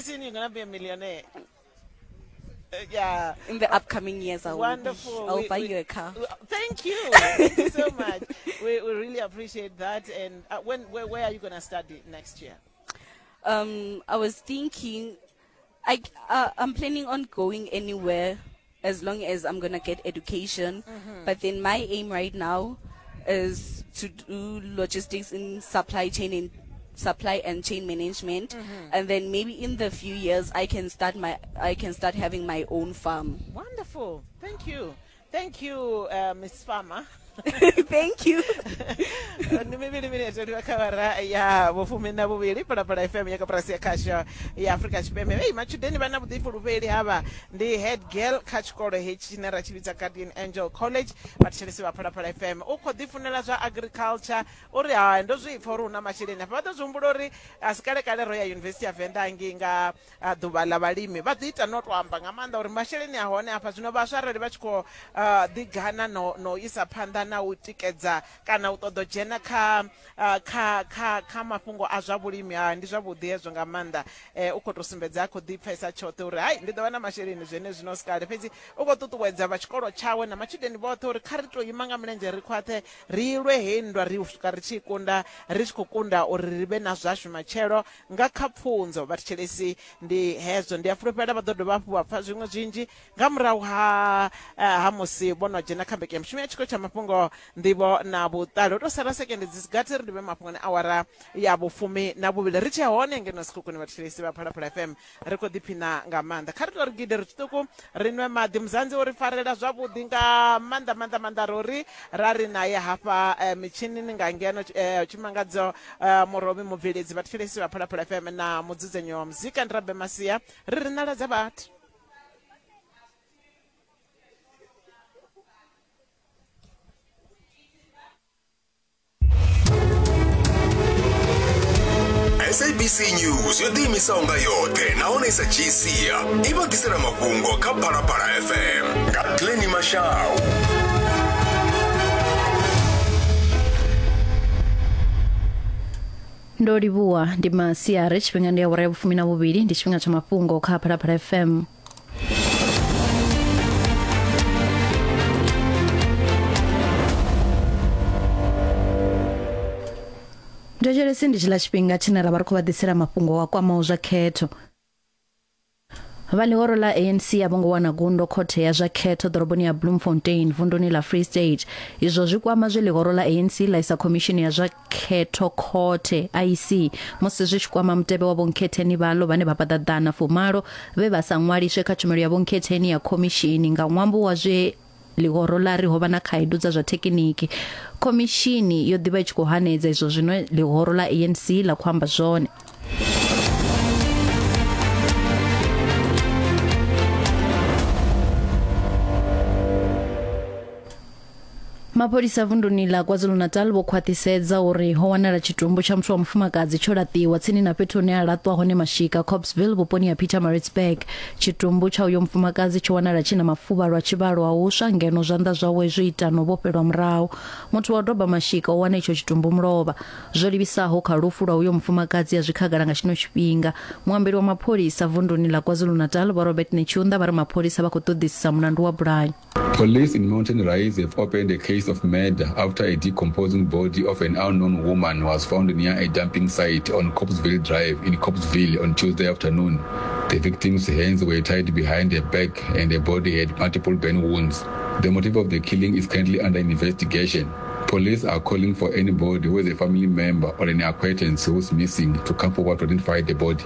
Pretty soon you're gonna be a millionaire. Yeah. In the upcoming years, I will. Wonderful. I'll buy you a car. Thank you. Thank you so much. We really appreciate that. And where are you going to study next year? I was thinking, I'm planning on going anywhere as long as I'm going to get education. But then my aim right now is to do logistics in supply chain and supply and chain management, and then maybe in the few years I can start having my own farm. Wonderful. Thank you. Thank you, Miss Farmer. Thank you. Ndi mivhili minete ndi kha awara ya vhufumi na vhuvhili, Phalaphala FM ya koporasi ya khasho ya Afrika Tshipembe. Hei, matshudeni vha na vhuḓifulufheli havha. Ndi head girl kha tshikolo hetshi tshine ra tshi vhidza Guardian Angel College. Vhathetshelesi vha Phalaphala FM, u khou ḓifunela zwa agriculture. Uri hai, ndo zwi pfa uri hu na masheleni afha. Vha ḓo zwi humbula uri a si kale kale ro ya Yunivesithi ya Venḓa ngei nga ḓuvha ḽa vhalimi. Vha ḓo ita no to amba nga maanḓa uri masheleni a hone afha. Zwino vhaswa arali vha tshi khou ḓi gana no isa phanḓa na u tikedza kana u ṱoḓa u dzhena kha kha kha mafhungo a zwa vhulimi, ha ndi zwavhuḓi hezwo nga maanḓa. U khou tou sumbedza a khou ḓi pfesa tshoṱhe uri hai, ndi ḓo vha na masheleni zwenezwino si kale. Fhedzi u khou ṱuṱuwedza vha tshikolo tshawe na matshudeni vhoṱhe uri kha ri tou ima nga milenzhe ri khwaṱhe, ri lwe heyi nndwa ri swika ri tshi i kunda, ri tshi khou kunda uri ri vhe na zwashu matshelo nga kha pfunzo. Vhathetshelesi, ndi hezwo. Ndi a fulufhela vha ḓo dovha hafhu vha pfa zwiṅwe zwinzhi nga murahu ha ha musi vho no dzhena kha mbekanyamushumo ya tshiko tsha mafhungo, nḓivho na vhuṱali. Ho tou sala sekende dzi si gathi ri livhe mafhungoni awara ya vhufumi na vhuvhili. Ri tshe hone ngeno Sekhukhune, vhathetshelesi vha Phalaphala FM, ri khou ḓiphina nga maanḓa. Kha ri tou ri gide ri tshiṱuku ri nwe maḓi. Muzanzi u ri farela zwavhuḓi nga maanḓa maanḓa maanḓa. Ro ri ra ri naye hafha mitshinini nga ngeno Tshimangadzo Murovhi, mubveledzi, vhathetshelesi vha Phalaphala FM na mudzudzanyi wa muzika ndi Rabe Masia. Ri ri ṋala dza vhathu. SABC News yo ḓiimisaho nga yoṱhe nahone i sa dzhii sia i vha ḓisela mafhungo kha Phalaphala FM nga Glenny Mashau. Ndo livhuwa. Ndi masiari, tshifhinga ndi awara ya vhufumi na vhuvhili, ndi tshifhinga tsha mafhungo kha Phalaphala FM. Thetshelesi, ndi tshiḽa tshifhinga tshine ra vha ri khou vha ḓisela mafhungo a kwamaho zwa khetho. Vha ḽihoro ḽa ANC a vho ngo wana gundo khothe ya zwa khetho ḓoroboni ya Bloemfontein vunduni ḽa Free State. Izwo zwi kwama zwe ḽihoro ḽa ANC ḽa isa khomishini ya zwa khetho khothe IEC musi zwi tshi kwama mutevhe wa vhonkhetheni vhaḽo vhane vha fhaṱa ḓana fumalo vhe vha sa ṅwaliswe kha tshumelo ya vhonkhetheni ya khomishini nga ṅwambo wa zwe ḽihoro ḽa ri ho vha na khaedu dza zwa thekiniki. Khomishini yo ḓi vha i tshi khou hanedza izwo zwine ḽihoro ḽa ANC ḽa khou amba zwone. Mapholisa vunduni ḽa KwaZulu-Natal vho khwaṱhisedza uri ho wanala tshitumbu tsha muthu wa mufumakadzi tsho laṱiwa tsini na fhethu hune ha laṱwa hone mashika Copesville vhuponi ha Pietermaritzburg. Tshitumbu tsha uyo mufumakadzi tsho wanala tshi na mafuvhalo a tshivhalo a u swa ngeno zwanḓa zwawe zwo ita na u vhofhelwa murahu. Muthu wa u doba mashika o wana itsho tshitumbu mulovha. Zwo livhisaho kha lufu lwa uyo mufumakadzi a zwi khagala nga tshino tshifhinga. Muambeli wa mapholisa vunduni ḽa KwaZulu-Natal Vho Robert Netshiunda vha ri mapholisa vha khou ṱoḓisisa mulandu wa bulayo. Police in Mountain Rise have opened a case of murder after a decomposing body of an unknown woman was found near a dumping site on Copesville Drive in Copesville on Tuesday afternoon. The victim's hands were tied behind her back and her body had multiple burn wounds. The motive of the killing is currently under investigation. Police are calling for anybody who is a family member or an acquaintance who's missing to come forward to identify the body.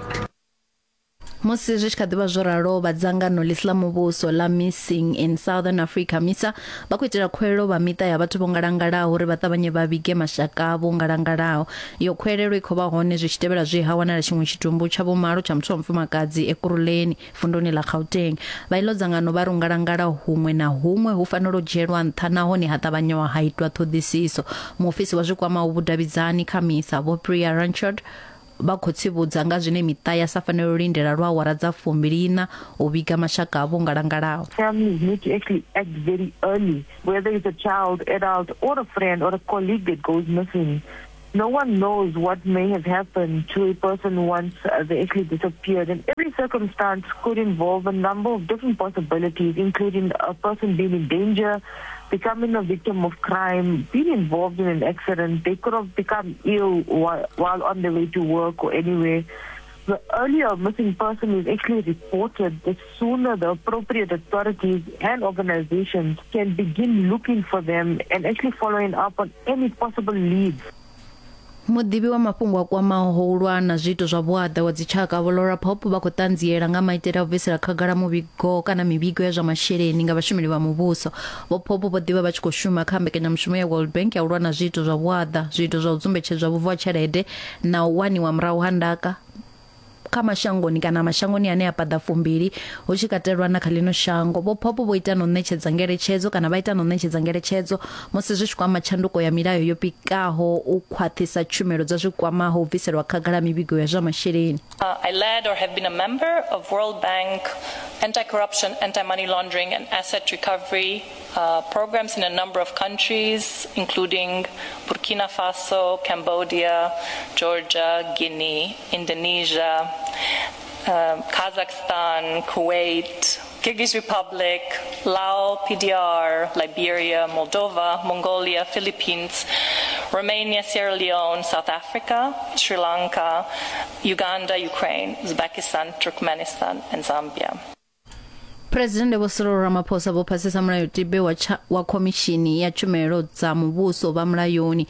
Musi zwi tshi kha ḓi vha zwo ralo, vha dzangano ḽi si ḽa muvhuso ḽa Missing in Southern Africa, MISA, vha khou itela khuwelelo vha miṱa ya vhathu vho ngalangalaho uri vha ṱavhanye vha vhige mashaka avho ngalangalaho. Iyo khuwelelo i khou vha hone zwi tshi tevhela zwe ha wanala tshiṅwe tshitumbu tsha vhumalo tsha muthu wa mufumakadzi Ekurhuleni, vunduni ḽa Gauteng. Vha iḽo dzangano vha ri u ngalangala huṅwe na huṅwe hu fanela u dzhielwa nṱha nahone ha ṱavhanyiwa ha itwa ṱhoḓisiso. Muofisi wa zwi kwamaho vhudavhidzani kha MISA, Vho Priya Ranchod, Vha khou tsivhudza nga zwine miṱa ya sa fanele u lindela lwa awara dza fumbili-iṋa u vhiga mashaka avho o ngalangalaho. Families need to actually act very early, whether it's a child, adult or a friend or a colleague that goes missing. No one knows what may have happened to a person once they actually disappeared. And every circumstance could involve a number of different possibilities, including a person being in danger, becoming a victim of crime, being involved in an accident. They could have become ill while, while on their way to work or anywhere. The earlier a missing person is actually reported, the sooner the appropriate authorities and organizations can begin looking for them and actually following up on any possible leads. Muḓivhi wa mafhungo a kwamaho u lwa na zwiito zwa vhuaḓa wa dzitshaka Vho Laura Pope vha khou ṱanziela nga maitele a u bvisela khagala muvhigo kana mivhigo ya zwa masheleni nga vhashumeli vha muvhuso. Vho Pope vho ḓivha vha tshi khou shuma kha mbekanyamushumo ya World Bank ya u lwa na zwiito zwa vhuaḓa, zwiito zwa u dzumbetshedzwa vhubvo ha tshelede na u waniwa murahu ha ndaka kha mashangoni kana mashangoni ane a paḓa fumbili hu tshi katelwa na kha ḽino shango. Vho Pope vho ita na u ṋetshedza ngeletshedzo kana vha ita na u ṋetshedza ngeletshedzo musi zwi tshi kwama tshanduko ya milayo yo pikaho u khwaṱhisa tshumelo dza zwi kwamaho u bviselwa khagala mivhigo ya zwa masheleni. I led or have been a member of World Bank anti-corruption, anti-money laundering and asset recovery programs in a number of countries, including Burkina Faso, Cambodia, Georgia, Guinea, Indonesia, Kazakhstan, Kuwait, Kyrgyz Republic, Laos, PDR, Liberia, Moldova, Mongolia, Philippines, Romania, Sierra Leone, South Africa, Sri Lanka, Uganda, Ukraine, Uzbekistan, Turkmenistan, and Zambia. Phresidennde Vho Cyril Ramaphosa vho phasisa Mulayotibe wa, wa Khomishini ya Tshumelo dza Muvhuso vha Mulayoni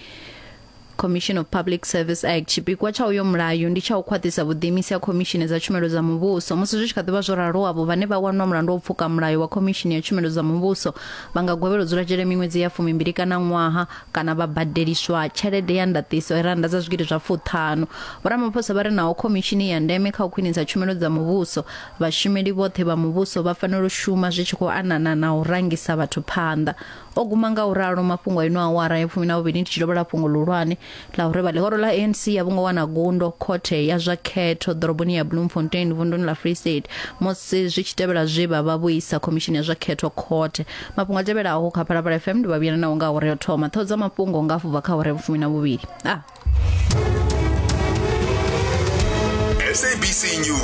Commission of Public Service Act. Tshipikwa tsha uyo mulayo ndi tsha u khwaṱhisa vhuḓiimisi ha khomishini dza tshumelo dza muvhuso. Musi zwi tshi kha ḓi vha zwo ralo, avho vhane vha wanwa mulandu wa u pfuka mulayo wa khomishini ya tshumelo dza muvhuso vha nga gwevhelwa u dzula dzhele miṅwedzi ya fumimbili kana ṅwaha kana vha badeliswa tshelede ya ndaṱiso rannda dza zwigidi zwa fuṱhanu. Vho Ramaphosa vha ri naho khomishini ya ndeme kha u khwinisa tshumelo dza muvhuso, Vhashumeli vhoṱhe vha muvhuso vha fanela u shuma zwi tshi khou anana na u rangisa vhathu phanḓa. O guma nga u ralo mafhungo a ino awara ya fumi na vhuvhili ndi tshi dovholola fhungo ḽihulwane ḽa uri vha ḽihoro ḽa ANC a vho ngo wana gundo khothe ya zwa khetho ḓoroboni ya Bloemfontein vunduni ḽa Free State musi zwi tshi tevhela zwe vha vha vho isa khomishini ya zwa khetho khothe. Mafhungo a tevhelaho kha Phalaphala FM ndi vha vhuyela nao nga awara ya u thoma. Ṱhoho dza mafhungo nga hafhu bva kha awara ya vhufumi na vhuvhili. Ah. SABC News.